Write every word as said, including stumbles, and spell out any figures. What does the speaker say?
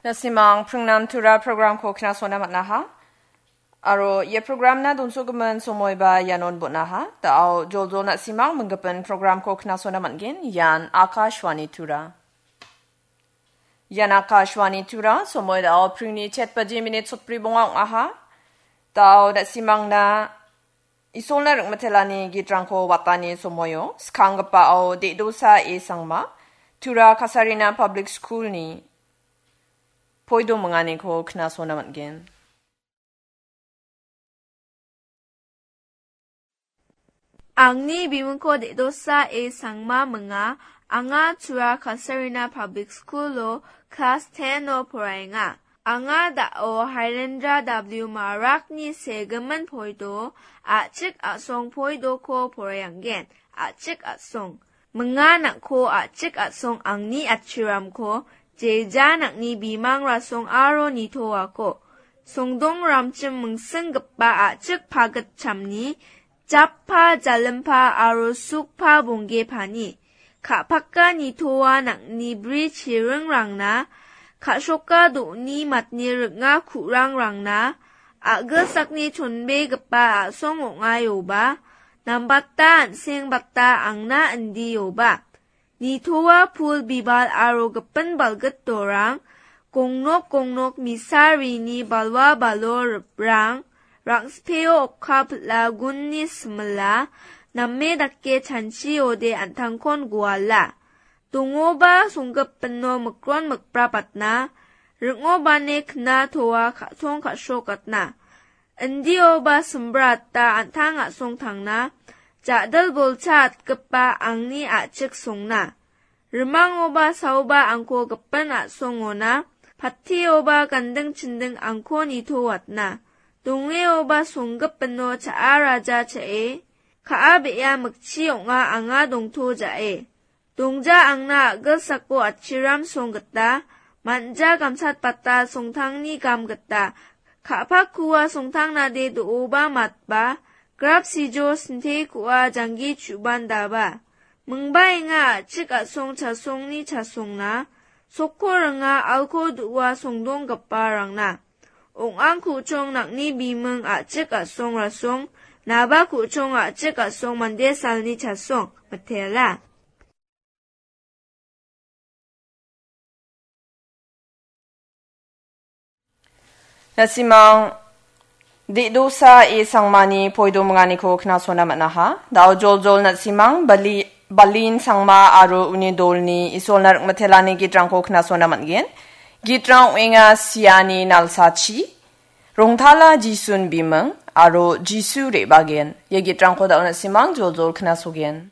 Na·simang pringnan tura programko knasona man·aha. Aro ia programna donsogimin somoiba ianon bon·aha. Da·ao joljol na·simang minggipin programko knasona man·gen. Ian Akashvani Tura. Ian Akashvani Tura, somoi da·ao pringni chet baji minit sotbri bonga ong·aha. Da·ao na·simangna Isolna ring·mitelani gitrangko watani somoio, skanggipa ao De·dosa E Sangma, Tura Kasarina Public School-ni poido minganiko knasona man·gen. Angni bimingko De·dosa E Sangma minga, anga Tura Kasarina Public School-o klas ten-o poraenga. Anga da·o Hairendra W Marakni segimin poido, a·chik a·song poidoko poraianggen, a·chik a·song. Minga nang·ko a·chik a·song angni atchiramko, jeja nang·ni bimang rasong aro nitoako. Songdong ramchim mingsinggipa a·chik pagitchamni, jappa jalimpa aro sukpa bonggepani. Ka·paka nitoa nang·ni bri chiringrangna, ka·soka do·ni matni ring·a ku·rangrangna, a·gilsakni chonbegipa a·song ong·aioba, nambata an·sengbata angna indioba. Nitoa pul bibal aro gipin balgit dorang, gongnok gongnok misarini balwa balo riprang, rang·speo okka pil·a gunni simila, name dake chanchiode an·tangkon guala. Dongoba songgipino mikron mikprapatna, ring·obane kna toa ka·tong ka·srokatna. Indioba simbrata an·tang a·songtangna, ja·dil bolcha atgipa angni a·chik songna. Rimangoba saoba angko gipin a·songona, patteoba ganding chinding angko nitowatna. Dongeoba songgipino cha·a raja cha·e, ka·a be·a mikchi ong·a anga dongto ja·e. Dongja angna a·gilsako atchiram song gita, manja gamsatbata songtangni gam gita, ka·pakua songtangnade do·oba matba, grap sijo sinte ku·a janggi chu·bandaba. Mingbaenga a·chik a·song chasongni chasongna, sokko ringa alko do·a songdonggiparangna. Ong·ang ku·chong nang·ni biming a·chik a·song rasong, naba ku·chong a·chik a·song mande salni chasong, mitela. Na·simang De·dosa E Sangmani poido minganiko knasona man·aha. Da·o joljol na·simang Bali-, Balin Sangma aro uni dolni Isolna ring·mitelani gitrangko knasona man·gen. Gitrang ong·enga Siani Nalsachi, Rongtala Jisun Biming aro Jisu Re·bagen. Ia gitrangko da·o na·simang joljol knasogen.